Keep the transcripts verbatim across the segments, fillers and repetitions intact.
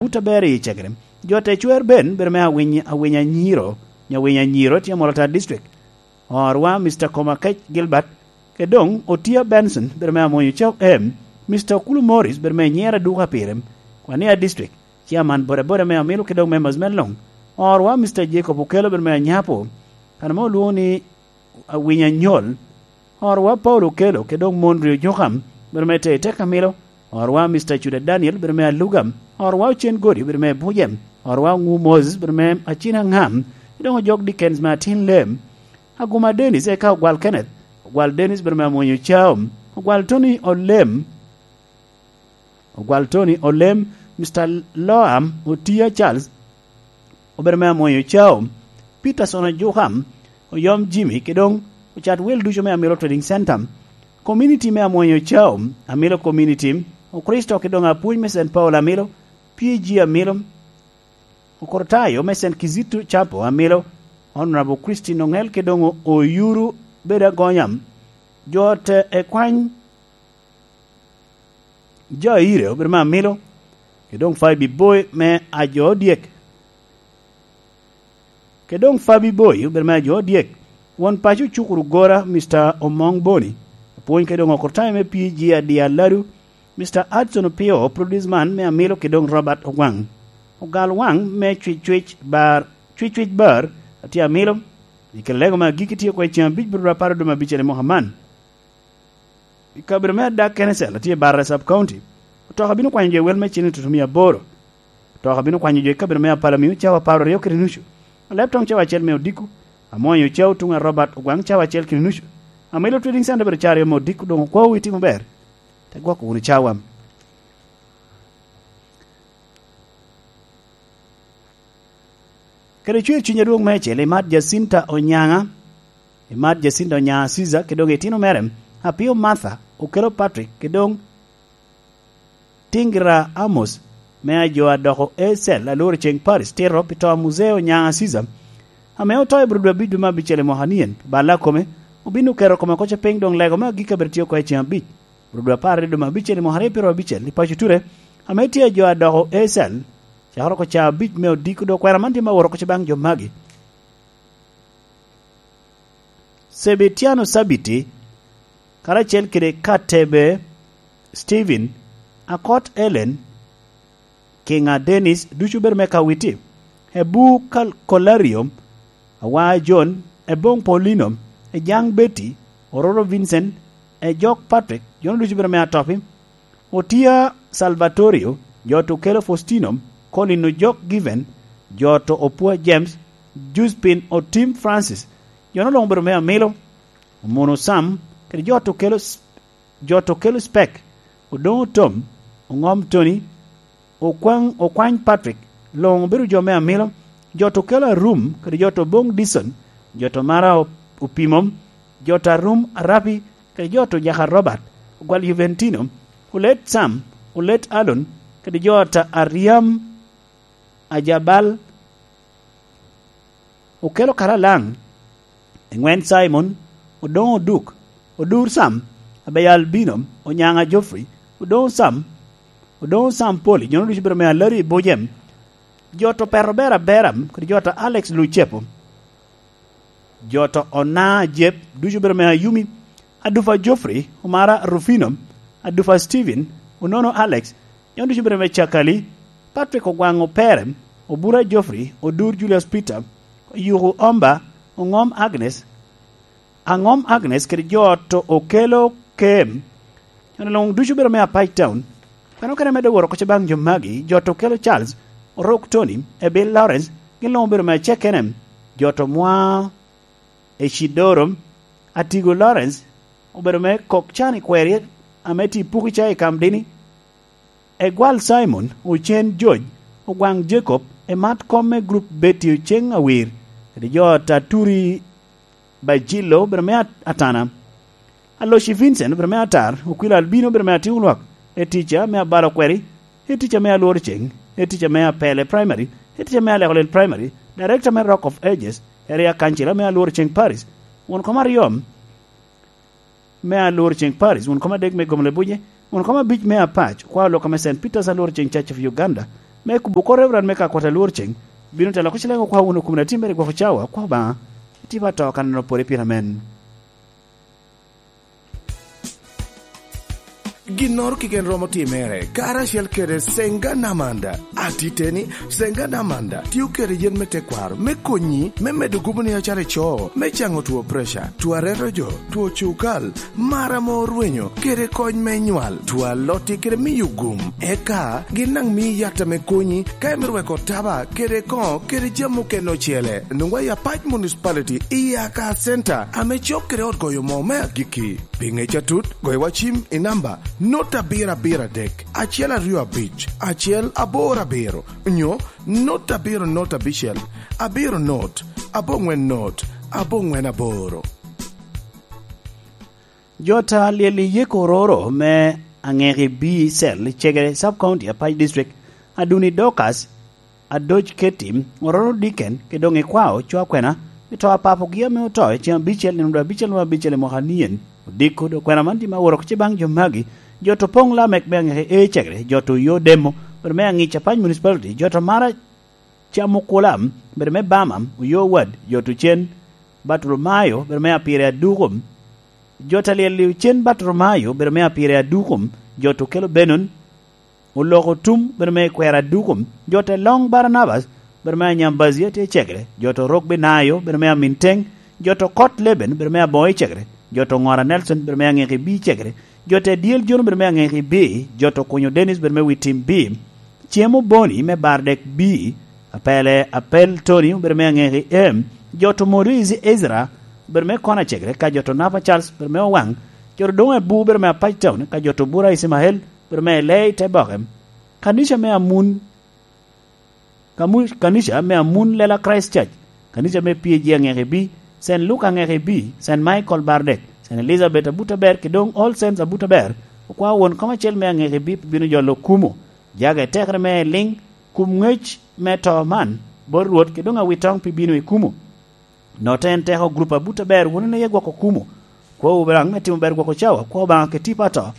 Taberi i Cegere. Jo te cwer ben, bedo me Awiny, Awiny Anyiro, nyo Awiny Anyiro, tye Amolo Tar District. Orwa Mister Komakec Gilbert, ke doŋ Otia Benson, bedo me Amwonyo Cau M, Mister Okulu Morris, bedo me Nyera Duka Pirem, Kwania District, Chairman bodaboda me Amilo, ke doŋ members me luŋ. Orwa Mister Jacob Okello, bedo me Anyapo, kan ame olwoŋo ni Awiny Anyol. Orwa Paulo Okello, ke doŋ Mondri Ojokam, bedo me Teiteka Milo. Orwa Mister Cuda Daniel, bedo me Alugam. Orwa Ocen Godi, bedo me Bujem. Orwa Oŋu Moses, bedo me Acina Ŋam. Ke doŋ ojok Dickens me Atin Lem. Aguma Dennis, eka Ogwal Kenneth. Ogwal Dennis, bedo me Amwonyo Cau. Ogwal Tony Olem. Ogwal Tony Olem, Mister Loam Otia Charles, obedo me Amwonyo Cau. Peterson Ojukam, Oyom Jimmy, ke doŋ ocat wel ducu me Amilo Trading Center. Community me Amwonyo Cau, Amilo Community, Okristo, ke doŋ apwony me Saint Paul Amilo, P G Amilo, Okortayo me Saint Kizito Chapel Amilo, Honorable Christine Oŋel, ke doŋ Oyuru bedo agonya. Jo te ekwany Jo Aire obedo me Amilo, ke doŋ Fabi Boy me Ajo Odyek. Ke doŋ Fabi Boy obedo me Ajo Odyek. Won paco Cukuru Gora, Mister Omoŋ Boni, apwony ke doŋ Okortayo me P G Adi Aladu, Mister Hudson Opio, produce man me Amilo, ke doŋ Robert Ogwaŋ. Ogal waŋ me Cwic Cwic Bar, Cwic Cwic Bar, atye Amilo. I kin lego me agikki tye oko i ceŋ abic, bro apar oduma abicel i mwaka man. I kabedo me Adak Kenicel, atye i Barre Sub County. Otoka bino kwanyo jo i wel me cen i tutumia aboro. Otoka bino kwanyo jo i kabedo me Apala Miu cawa apar aryo kede nucu. Aleb toŋ cawa acel me odiko, Amwonyo Cau tuŋ a Robert Ogwaŋ cawa acel kede nucu. Amilo Trading Center bedo cawa aryo me odiko, doŋ okwawu itimo ber. Te gwoko wunu cawa. Kede cwer cuny adwoŋ meicel, imat Jacinta Onyaŋa, imat Jacinta Onyaŋa Caesar, kede doŋ itino mere, Apio Martha, Okelo Patrick, kede doŋ Tingira Amos, me ajo a doko Ecel, alworo ceŋ Paris, tito pi to a Muzee Onyaŋa Caesar, ame oto i Burodo abic dwe me abicel i mwaka nien, balla kome, obin oketo kome oko piny, doŋ lego me agikki abiro tye oko i ceŋ abic. Rudwa apar i duma abicel i mwaka aryo pyero abicel i paco Ture, ame tye a jo a doko Ecel, cakere oko ca abic me odiko, dok kwena man tye me woro oko baŋ jo magi. Sebitiano Sabiti, karacel kede Katebe Steven, Akot Ellen, Kinga Dennis, ducu bedo me Kawiti, Ebu Kal-, Kolario, Awa John, Ebong Paulino, Ejang Betty, Ororo Vincent, Ejok Patrick, jo ducu bedo me Atopi, Otia Salvatorio, jo to kelo Faustino, Colin Ojok Given, jo to Opua James, Juspin Otim Francis, jo luŋ bedo me Amilo, Omono Sam, kede jo to kelo s-, jo to kelo Spek, Odoŋo Tom, Oŋom Tony, Okwaŋ, Okwany Patrick, luŋ obedo jo me Amilo, jo to kelo Arum, kede jo to Boŋ Dison, jo to Mara Op-, Opimo, jo to Arum Arapi, kede jo to Jaka Robert, Ogwal Juventino, Olet Sam, Olet Alon, kede jo to Aryam Ajabal, Okelo Karalaŋ, Eŋwen Simon, Odoŋo Oduk, Odur Sam, Abeya Albino, Onyaŋa Geoffrey, Odoŋo Sam, Odoŋo Sam Poli, jo ducu bedo me Alari i Bujem, jo to Peto Bera Bera, kede jo to Alex Lucepo, jo to Ona Jep, ducu bedo me Ayumi, Adufa Geoffrey, Omara Rufino, Adufa Steven, Onono Alex, jo ducu bedo me Cakali, Patrick Ogwaŋ Opere, Obura Geoffrey, Odur Julius Peter, Oyuku Omba, Oŋom Agnes, Aŋom Agnes kede jo to Okelo Kem, jo luŋ ducu bedo me Apac Town. Peno kene medde woro oko baŋ jo magi, jo to Okelo Charles, Orok Tony, Ebil Lawrence, gin luŋ obedo me Acekene, jo to Mwa Ecid Doro, Atigo Lawrence, obedo me kok can i kweri ame tye i Pukica i Kamdini, Egwal Simon, Ocen George, Ogwaŋ Jacob, Emat Kom me Group Betty Oceng Awir, kede jo Taturi Bajillo, obedo me At-, Atana, Aloci Vincent, obedo me Atar, Okwilo Albino, obedo me Atiu Lwak, Etica me Abalo Kweri, Etica me Alwor Ceng, Etica me Apele Primary, Etica me Alekolel Primary, Director me Rock of Ages, Area Council me Alwor Ceng Paris, won kom aryo me Alwor Ceng Paris, won kom adek me Gomle Buje, won kom abic me Apac, kwa olok ame Saint Peter's Alwor Ceng Church of Uganda, me kubo kor Reverend me ka kwat alwor ceng, bino telo oko cileŋ okwa wunu kun atimere gwok cawa, kwa Obaŋa, itipa to kan no pore pira men. Ginnoro keken romo timere, karacel kede Senga Namanda. Atiteni, Senga Namanda tio kede yen me tekwaro me konyi me medo gubo ni acara ico, me caŋo two preca, two areto jo, two cukal, mar ame orwenyo, kede kony me nywal, two alotti kede miyo gum. Eka gin daŋ mii yat ame konyi ka imito weko taba kede koŋo kede jami okene ocele. Nwoŋwa i Apac Municipality i Aka Center ame cok kede ot goyo moo me agikki. Pi ŋec atut, goyo wa cim i namba not abiro abiro adek, acel aryo abic, acel aboro abiro, nyo not abiro not abicel, abiro not, aboŋwen not, aboŋwen aboro. Jo ta lyel i yeko ororo me Aŋeki B cell i Cegere Sub County Apac District, Aduni Dorcas, Adoc Keti, ororo Diken, kede doŋ ikwao cwa kwena, i to a papogi ame oto i ceŋ abicel, nino dwe abicel me abicel i mwaka nien. Odiko do kwena man tye ma woro kice baŋ jo magi, jo to poŋ Lamek me Aŋeki A Cegere, jo to Oyo Demo, bedo me Aŋic Apac Municipality, jo to Mara Cam Okula, bedo me Bama, Oyo Wad, jo to Cen Bartolomayo, bedo me Apire Adukum, jo to Lyel Liw Cen Bartolomayo, bedo me Apire Adukum, jo to Kelo Benon, Oloko Tum, bedo me Kwera Adukum, jo to Long Barnabas, bedo me Anyambazi atye i Cegere, jo to Rok Binayo, bedo me Aminteng, jo to Kot Leben, bedo me Aboŋo i Cegere, jo to Ŋora Nelson, bedo me Aŋeki B Cegere, jo to Dyel Jono, bedo me Aŋeki B, jo to Kunyo Dennis, bedo me Witim B, Cem Oboni me Bardek B, Apele Apel Tony, bedo me Aŋeki M, jo to Modu Ezi-, Ezra, bedo me Kona Cegere, ka jo to Napa Charles, bedo me Owaŋ, jo to Doŋ Ebu, bedo me Apac Town, ka jo to Bura Ismael, bedo me Elei Teboke, kanica me Amun, kamu-, kanica me Amun Lela Christ Church, kanica me P A G Aŋeki B, Saint Luke Aŋeki B, Saint Michael Bardek, Saint Elizabeth Abuta Ber, kede doŋ All Saints Abuta Ber, okwao won kom acel me Aŋeki B pi bino jolo kumo. Jage tekere me liŋ, kum ŋec me to man, bot Rwot, kede doŋ awitoŋ pi bino i kumo. Notte en teko gurup abut aber wun en aye gwoko kumo. Kwowu Obaŋa me timo ber gwoko cawa, kwo Obaŋa kede tipo ato.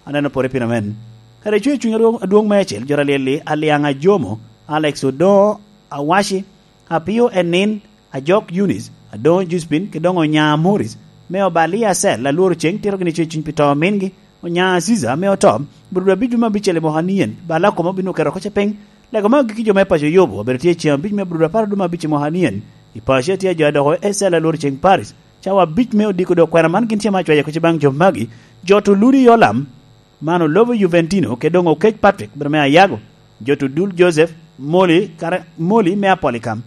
Aneno pore piny amen. Kara icuŋ i cuny adwoŋ, adwoŋ meicel, jo alyel-li, Aliaŋ Ajomo, Alex Odoŋo Awaci, Apio Enin, Ajok Eunice, Adoŋo Juspin, kede doŋ Onya Morris, me Obalia Cell, alworo ceŋ, tito gini cuŋ i cuny pi to omingi, Onya Aziza, me oto, Brudu abic dwe me abicel i mwaka nien, bala kome obino keto oko ce piny, Lego me agikki jo me paco Yobo obedo tye i ceŋ abic me Brudu apar dwe me abic i mwaka nien. I paco tye jo a doko Ecel alworo ceŋ Paris. Cawa abic me odiko dok kwena man gin tye ma acwayo kuc baŋ jo magi. Jo to Ludi Yolam, man olobo Juventino, kede doŋ Okec Patrick, bedo me Ayago. Jo to Dul Joseph, Moli, kara, Moli me Apolikam.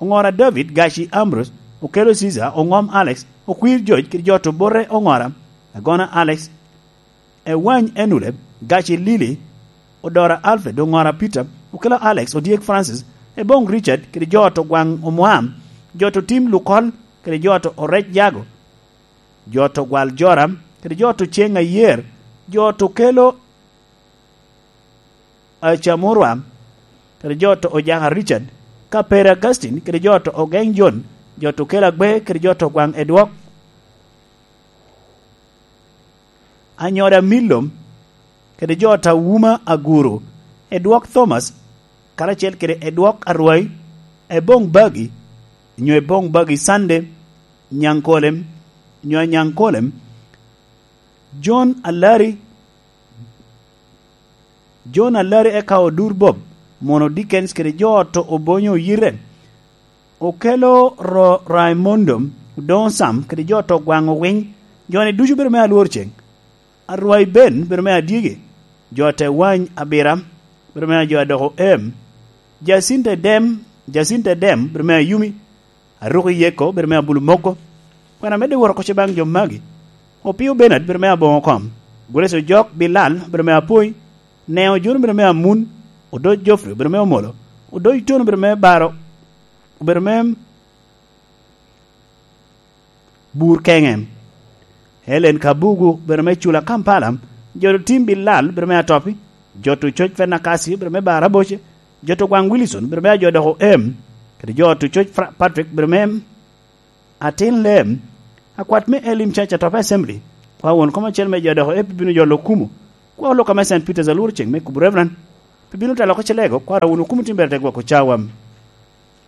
Oŋora David, Gaci Ambrose, Okelo Caesar, Oŋom Alex, Okwir George, kede jo to Bote Oŋora, Agona Alex, Ewany Enule, Gaci Lili, Odora Alfred, Oŋora Peter, Okelo Alex, Odyek Francis, Eboŋ Richard, kede jo to Gwaŋ Omwam, jo to Tim Lukol, kede jo to Orec Jago, jo to Gwal Joram, kede jo to Ceŋ Ayer, jo to Kelo Acamurwa, kede jo to Ojaka Richard, Kapere Augustine, kede jo to Ogeŋ John, jo to Kelo Agbe, kede jo to Gwaŋ Edwok, Anyoda Milom, kede jo ta Wuma Aguru, Edwok Thomas, karacel kede Edwok Arwai, Eboŋ Bagi, nyo Eboŋ Bagi Sande, Nyaŋkolem, nyo Anyaŋkolem, John Alari, John Alari eka Odur Bob, mono Dickens kede jo to Obonyo Oyite, Okelo Ro-, Raimondo, Odoŋo Sam, kede jo to Gwaŋ Owiny, jo-ni ducu bedo me alwor ceŋ. Arwai Ben bedo me Adyegi, jo te Wany Abira bedo me jo a doko Em, Jacinta Edem, Jacinta Edem bedo me Ayumi, Aruko Yeko bedo me Abulu Moko. Kwena medde woro oko ce baŋ jo magi. Opio Bernard bedo me Aboŋo Kom, Grace Ojok Bilal bedo me Apoi, Neo John bedo me Amun, Odoc Geoffrey bedo me Omolo, Odoc Tono bedo me Baro, obedo me Bur Keŋe. Helen Kabugu bedo me Cula Kampala, jo to Tim Bilal bedo me Atopi, jo to Coc Fenakasi bedo me Baraboce, jo to Gwaŋ Wilson bedo me Ajo Doko Em, kede jo to Coc Fra-, Patrick bedo me Atin Lem, akwat me Elim Church Atopi Assembly, kwa won kom acel me jo doko Em bino jolo kumo, kwa oloka me Saint Peter's alworo ceŋ me kubo Reverend. Pi bino ta loko celego, kwara wunu kumo tim bere te gwoko cawa.